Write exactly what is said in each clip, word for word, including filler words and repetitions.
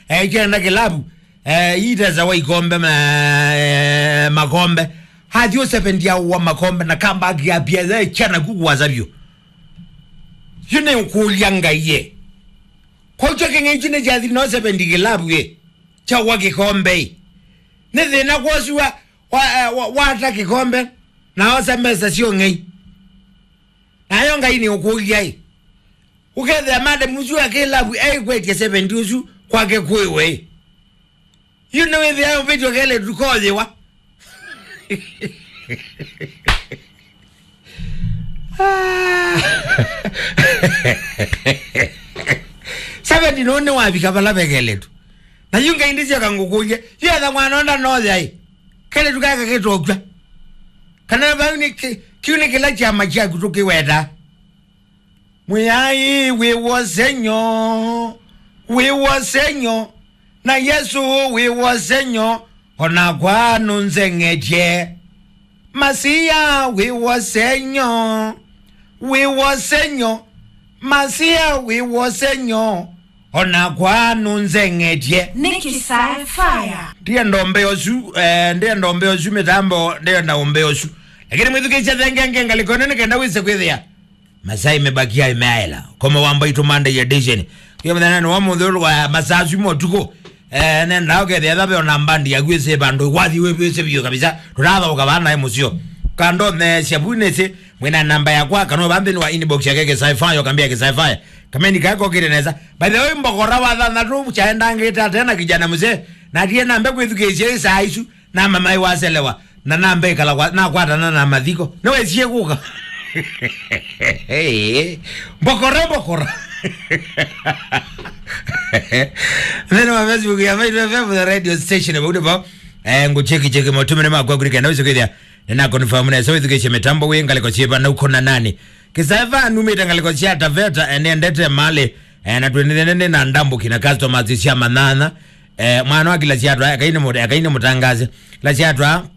Eh, kyenda kĩlavu, eh, itesawa ikombe ma, eh, makombe. Athi ũsevendia wa makombe na comeback ya P S L kyana kukuwasa vyũ. Yu nĩ ũkũlya Ngai ye. Kwa kyo kĩng'ei kyu nĩ kyathi no seventy kĩlavu ye. Kya wa kĩkombe ĩ. Nĩ thĩna kwosu wa, wa, eh, wa, wata kĩkombe na osa mesa syo ng'ei. Nayo Ngai nĩ ũkũlya ĩ. Ũkethĩa madam ũsu akĩlavu eĩkwetye seventy ũsu kwake kwĩwe ĩ. Yu nĩwĩthĩa ũvĩtyo kelĩtu koyĩwa. Ah. Seventy no nĩwavika vala ve kelĩtu. Na yu Ngai ndĩsyoka ngũkũlye. Yu etha mwana onda noya ĩ. Kelĩtu kaka kĩtokw'a. Kana vau nĩ kĩ-, kĩu nĩ kĩla kyama kyaku tũkĩweta. Mwĩai wĩ wosenyo, wĩ wosenyo, na Yesũ wĩ wosenyo, o nakwa nũnzeng'etye. Masia wĩ wosenyo, wĩ wosenyo, Masia wĩ wosenyo, o nakwa nũnzeng'etye. Nĩ Kĩsae Fire. Ndienda ũmbee ũsu, eh, ndienda ũmbee ũsu mĩtambo, ndienda ũmbee ũsu. Lakini mwĩthukĩĩsya thengenge ngalĩko ĩno nĩ kenda wĩse kwĩthĩa. Masaa imebakia imeaela. Koma wa Mbaitũ Monday edition. Kũya mũthenyanĩ wa mũthĩ wa masaa asu ma ũtukũ. Eh, nenda ũkethĩa etha ve ona mbandi yaku ĩsĩ vandũ wathi wĩvĩsĩ vyũ kabisa. Tũtathaũka vaa naĩ mũseo. Kandontheesya vu nĩsĩ, mwĩna namba yakwa, kana ũva nthĩnĩ wa inbox yake Kĩsae Fire, ũkambĩa Kĩsae Fire. Kameni kae kokĩte nesa. By the way, mbokora wa thanthatũ kyaendangĩte ate na kijana mzee. Na ndiye nambe kwĩthukĩĩsya ĩ saa isu. Namanya nĩwaselewa, na namba ĩkala kwa, nakwatana na mathiko. Nĩwesie kũka. Mbokora, mbokora. Nthĩnĩ wa Facebook ya Mbaitũ F M, the radio station, vau nĩvo. Eh, ngũcheki, cheki, maũtũmĩre makwa kũrĩ kenda wĩse kwĩthĩa. Nĩna confirm nesa wĩthukĩĩsye mĩtambo wĩ ngalĩko syĩva na ũkona nani. Kĩsae Fire numĩte ngalĩko sya Taveta, eh, nĩendete malĩ, eh, na twendete nĩ na ndambũki na customers sya manyanya. Eh, mwana wa kila syatwa, ekai nĩ mũ-, ekai nĩ mũtangaze. Kila syatwa,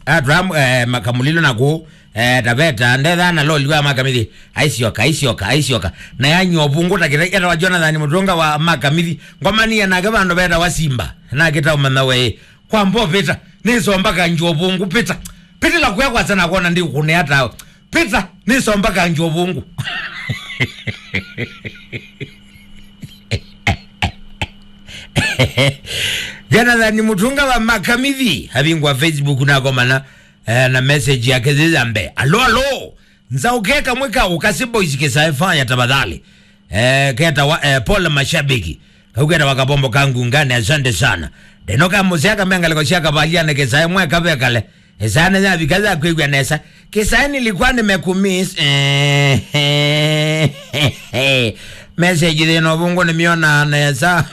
atwa, eh, makamulilo na kũ, eh, Taveta, ndetha na loli wa makamithi. Aisyoka, aisyoka, aisyoka. Na yanywa ũvũngũ ta kĩtai, etawa Jonathan Mũtũnga wa makamithi. Ngomania nake vandũ vetawa Simba. Na kĩtaũmanya we. Kwa mbo pita, nĩsomba kanjũ ũvũngũ, pita. Pita la kuya kwasa na kuona ndi kũnea tawe. Pita, nĩsomba kanjũ ũvũngũ. Jonathan Mũtũnga wa makamithi, avingwa Facebook na komana, eh, na message yake thitha mbe. Alo, alo. Nzaũke kamwe ka Ukasi Boys Kĩsae Fire tafadhali. Eh, ketawa, eh, pole mashabiki. Kau ketawa Kabombo ka Ngungani, asante sana. Ndeno ka mũsea kamengaleko sya kavaliane Kĩsae mwe kavekale. Ĩsane yavika ya kwĩw'a nesa. Kĩsae nilikuwa nimekumiss. Eh, eh, eh, eh. Message thĩna ũvũngũ nĩmĩona nesa.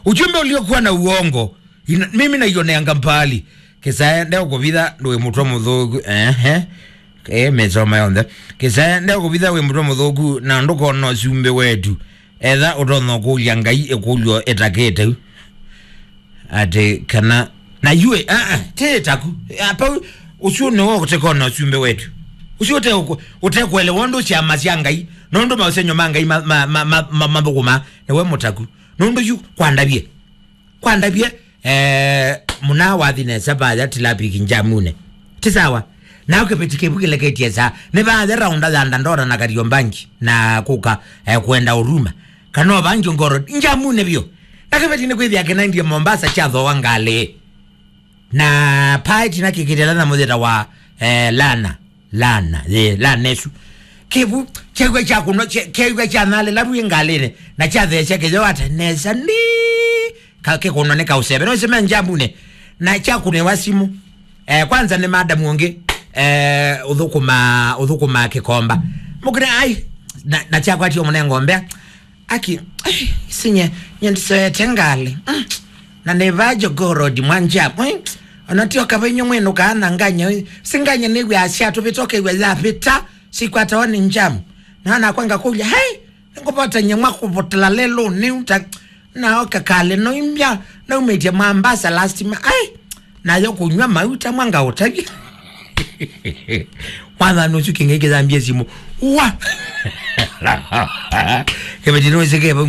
Ujumbe uliokuwa na uongo. Ina, mimi naioneanga mbali. Kĩsae ndeũkũvitha ndũĩ mũtwe mũthũku. Ehe. Eh, mĩsomo yonthe. Kĩsae ndeũkũvitha wĩ mũtwe mũthũku na ndũkona ũsumbĩ wetu. Etha ũtonya kũlya Ngai ĩkũlyo ĩtakĩte u. Atĩ kana na yuĩ, ah, ah, ti taku. Apa ũsu nĩwe ũtekona ũsumbĩ wetu. Ũsu ũte ũkũ-, ũtekwelewa ũndũ syama sya Ngai. Nũndũ maũsenyo ma Ngai ma, ma, ma, ma, ma, mathũkũma. Nĩwe mũtaku. Nũndũ yu kwandavye. Kwandavye, eh, mũna wathi nesa vaya tilapiki njamune. Ti sawa. Na kĩveti kĩvu kĩleketye saa. Nĩ vaya raunda ya Dandora na Kariobangi na kũka, eh, kwenda Huruma. Kana Bangi ngoro njamune vyũ. Na kĩveti nĩ kwĩthĩa kĩnaendie Mombasa kyathooa ngalĩ. Na paeti na kĩkĩtela na mũtheta wa, eh, Lana. Lana, ye, lana ĩsu. Kĩvu, kĩw'a kya kũnwa, kĩ-, kĩw'a kya nalĩ lavu ĩ ngalĩnĩ, na kyatheesya kĩyoo ata nesa ni, ka-, kĩkũnwa nĩ kaũseve. No ĩsĩ me njambunĩ, na kyakũnĩwa simũ. Eh, kwanza nĩ madam ũngĩ, eh, ũthũkũma, ũthũkũma kĩkomba. Mũkĩne, ai, na, na kyakwatie mũnengo mbea. Aki, ai, isinye, nye ndisoete ngalĩ. Mm. Na nĩ vaa Jogoo Road mwa njia. Ai, ona tio kava inyuĩ mwĩnũkaa na nganya. Si nganya nĩw'aa syatũvĩta, ũkew'a yavĩta, sikwatawa nĩ njamu. Na nakwa ngakũlya, hai, nĩngũvota nyamwa kũvotela lelũnĩ, uta, na oka kalĩ noimbya, naumĩtye Mombasa last ma-, ai, nayo kũnywa mauta mwa ngaũtavya. Mwathani ũsu kĩng'ei kĩthambie simũ. Wa! Kĩveti nũĩsĩ kĩva